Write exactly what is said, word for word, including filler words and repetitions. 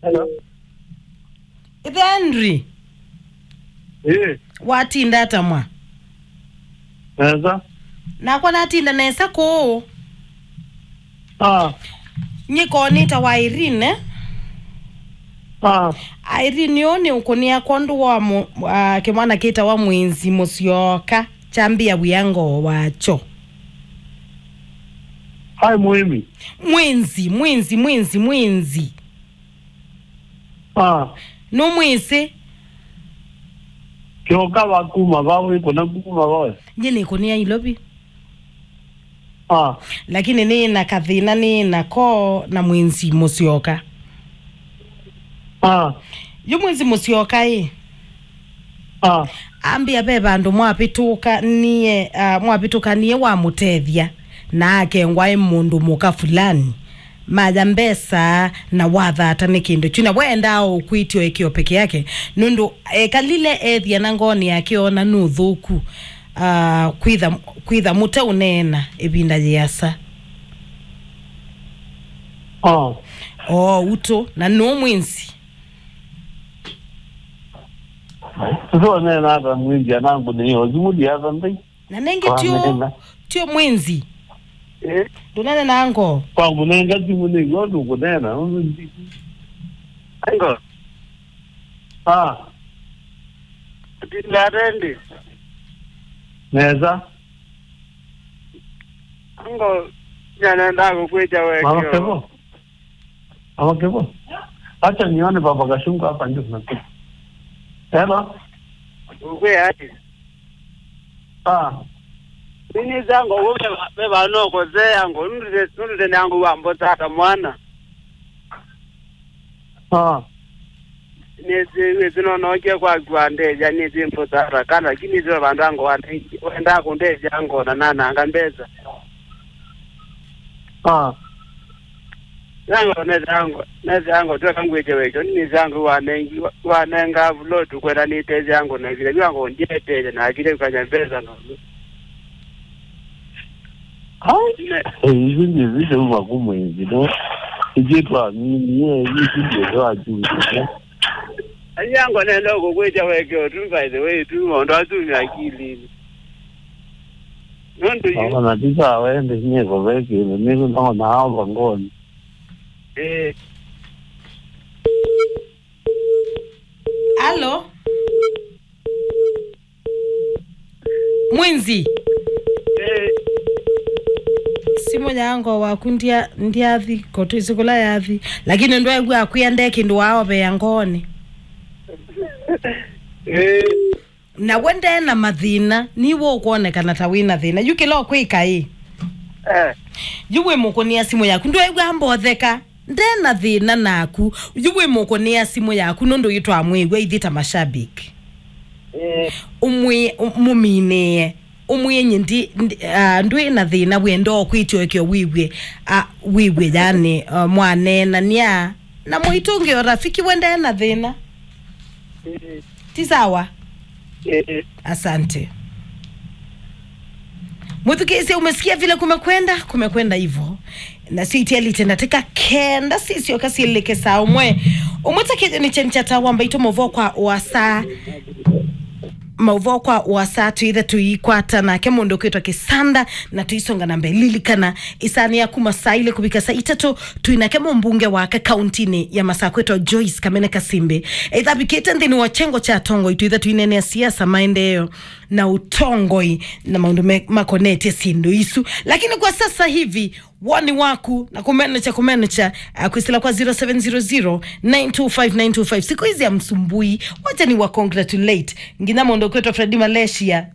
Hello. Ithe Henry. Eh. Watinda ata mwa? Nesa. Nakwa natinda nesa kũũ. Ah. Nyiko nĩtawa Irene. Ah. Irene ũũ nĩ ũkũnĩa kwondũ wa mũ-, ah, kĩmwana kĩtawa Mwinzi Mũsyoka. Kyambĩa wĩa ngoo wakyo. Hai, mũĩmi. Mwinzi, Mwinzi, Mwinzi, Mwinzi. Ah. Nũmwĩsĩ? Kĩoka va kuma va, wĩkũna kuma va we? Nyie nĩkũnĩa Ilovi. Ah. Lakini nĩ na kathĩna nĩ nako na Mwinzi Mũsyoka. Ah. Yu Mwinzi Mũsyoka ĩ. Ah. Ambĩa ve vandũ mwavĩtũkanie, ah, mwavĩtũkanie wamũtethya, na akengwa ĩ mũndũ mũka fulani. Maya mbesa na wathata nĩ kĩndũ kyu, na wendaa o kwĩtya o ĩkĩo peke yake, nũndũ ekalile ethĩa na ngoonĩ yake oona nĩ ũthũku, ah, kwĩtha, kwĩtha mũteũneena ĩvinda yĩasa. Oh. Oo, utũ, na nũũ Mwinzi? Sasa neena ata Mwinzi anangu nĩ yo, simuli ya Sunday. Na nengĩ tyo, tyo Mwinzi. Eh? Ndũnene na ngo. Kwa mũnenga simũ nĩ yo ndũkũneena. Ango. Ah. Tinda atendi. Nesa. Ango, nyanenda kũkwĩtya wekeo. Mama Kevo. Mama Kevo. Acha nione Baba Gashungu hapa ndio tunakuja. Hello. Ukwĩ ati? Ah. Nini zango, ume, me vano kosea ngo, nurite, nurite nyango wa mbota ata mwana. Ah. Nĩsĩ, nĩsĩ no nokie kwaku andethya, nĩsĩ mbũtara kana, lakini nĩsĩ vandũ ango wenda kũndethya ngo na nananga mbesa. Ah. Nango nethĩa ngo, nethĩa ngo tweka ngwĩtye wekyo, nĩsĩ ango wanengi, wanenga vlot kwenda nĩtethya ngo na vile vyango ndieteele na akile kukanya mbesa no. Ai, isu ndizi seuma kumwezi no. Ikitu amini ye isu ndizo achuzi. Anyango nenda kukwĩtya weke tu, by the way, tu maũndũ asu me akilini. Nũndũ yu. Ona tisa wende nye kuveke ni no na hawa ngoni. Eh. Alo. Mwinzi. Eh. Simu yango waku ndia, ndiathi, ko twisi kula yathi. Lakini ndwegwa akwia nde kindu wao be yangoni. Eh. Na we nde na mathina, ni wo kuonekana ta wina thina. Yu kila kwika ĩ. Eh. Yu we mukunia simu yaku. Ndwegwa mbotheka. Nde na thĩna naku. Yu wĩ mũkũnĩa simũ yaku nũndũ yu twamwĩw'a ithyĩ ta mashabiki. Eh. Ũmwĩ-, ũ-, mũminĩe. Ũmwĩe nyie ndi, ndi, ah, ndwĩ na thĩna, wenda o kwĩtya ũkeo wĩw'e, ah, wĩw'e yani, ah, mwaneenania na mũitũngĩo rafiki we nde na thĩna. Eh. Ti sawa? Eh. Asante. Mwĩthukĩĩsya, umesikia vile kumekwenda, kumekwenda hivyo. Na sio itialite ndatĩka kenda sisyoka syĩlĩke saa ũmwe. Ũmwe ta kĩthĩo nĩ kyeni kya taa wa mbaitũ maũvoo kwa ũasa. Maũvoo kwa ũasa twĩthe tũikwata nake mũndũ ũkwĩtwa Kĩsanda na tũisonga na mbee. Lilikana, ĩsaanĩ ya kuma saa ilĩ kũvika saa itatũ, twĩ nake mũmbunge wake kauntinĩ ya Masakũ etwa Joyce Kamene Kasimbi. Ethavikĩte nthĩnĩ wa kyengo kya atongoi, twĩtha tũineenea siasa, maendeeo na ũtongoi na maũndũ me-, makonetye syĩndũ isu. Lakini kwa sasa hivi, woni waku na kũmenekya, kũmenekya, ah, kwĩsĩla kwa zero seven zero zero, nine two five, nine two five. Siku hizi ya msumbui, wacha ni wa congratulate nginya mũndũ kwĩtwa Freddy Malaysia.